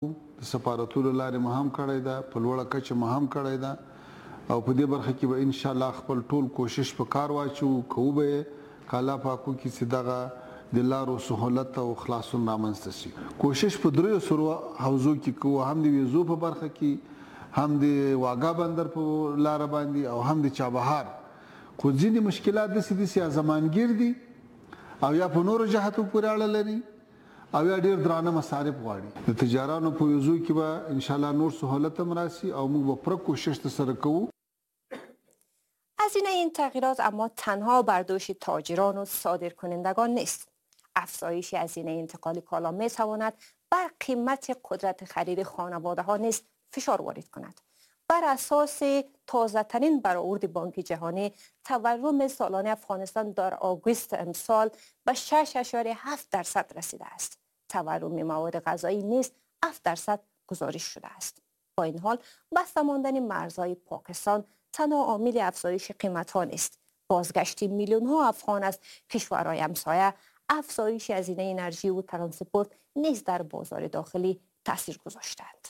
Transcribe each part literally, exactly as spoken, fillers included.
د سفارتونو لارې مو هم کړی ده، په لوړه کچه مو هم کړی ده او په دې برخه کې به ان شاء الله خپل ټول کوشش په کار واچوو، کوو به یې، که الله پاک وکړي چې دغه د لارو سهولت او خلاصون رامنځته شي. کوشش په دریو سرو حوزو کې کوو، هم د ویزو په برخه کې، هم د واګا بندر په لاره باندې او هم د چابهار. خو ځینې مشکلات داسې دي چې یا زمانګیر دي او یا په نورو جهاتو پورې اړه لري او یا ډیر درانه مصارف غواړي. د تجارانو په ویزو کې به انشاءالله نور سهولت هم راسي او موږ به پوره کوشش ترسره کوو. هزینه این تغییرات اما تنها بر دوش تاجران و صادرکنندگان نیست. افزایش هزینه انتقال کالا می تواند بر قیمت قدرت خرید خانواده ها نیز فشار وارد کند. بر اساس تازه ترین برآورد بانک جهانی، تورم سالانه افغانستان در آگوست امسال به شش اعشاریه هفت درصد رسیده است. تورم مواد غذایی نیز هفت درصد گزارش شده است. با این حال بسته ماندن مرزهای پاکستان تنها عامل افزایش قیمت ها نیست. بازگشت میلیون ها افغان از کشورهای همسایه، افزایش هزینه انرژی و ترانسپورت نیز در بازار داخلی تاثیر گذاشتند.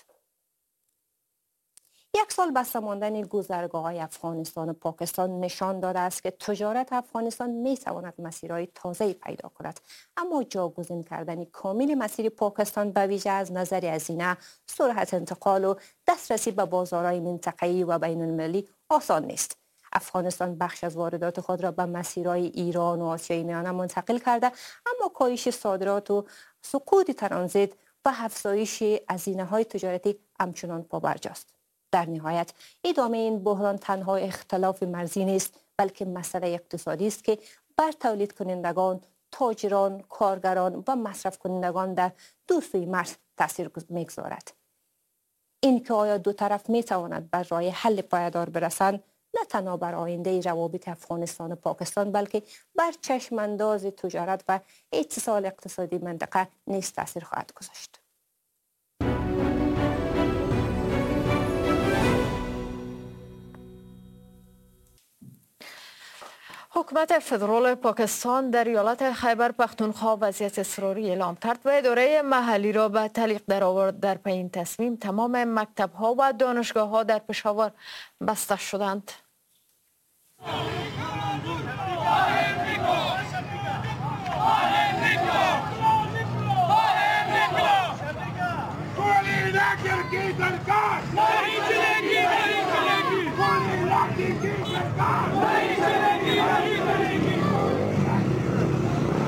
یک سال بسته ماندن گذرگاه‌های افغانستان و پاکستان نشان داده است که تجارت افغانستان می تواند مسیرهای تازه‌ای پیدا کند، اما جاگزین کردن کامل مسیر پاکستان به ویژه از نظر هزینه، سرعت انتقال و دسترسی به بازارهای منطقه‌ای و بین المللی آسان نیست. افغانستان بخش از واردات خود را به مسیرهای ایران و آسیای میانه منتقل کرده، اما کاهش صادرات و سقوط ترانزیت و افزایش هزینه‌های تجارتی همچنان پابرجاست. در نهایت ادامه این بحران تنها اختلاف مرزی نیست، بلکه مسئله اقتصادی است که بر تولید کنندگان، تاجران، کارگران و مصرف کنندگان در دو سوی مرز تاثیر می‌گذارد. اینکه آیا دو طرف می‌تواند بر راه حل پایدار برسند، نه تنها بر آینده روابط افغانستان و پاکستان، بلکه بر چشم انداز تجارت و اتصال اقتصادی منطقه نیز تاثیر خواهد گذاشت. حکومت فدرال پاکستان در ایالت خیبر پختونخوا وضعیت اضطراری اعلام کرد و اداره محلی را به تعلیق درآورد. در پی این تصمیم تمام مکتب‌ها و دانشگاه‌ها در پشاور بسته شدند.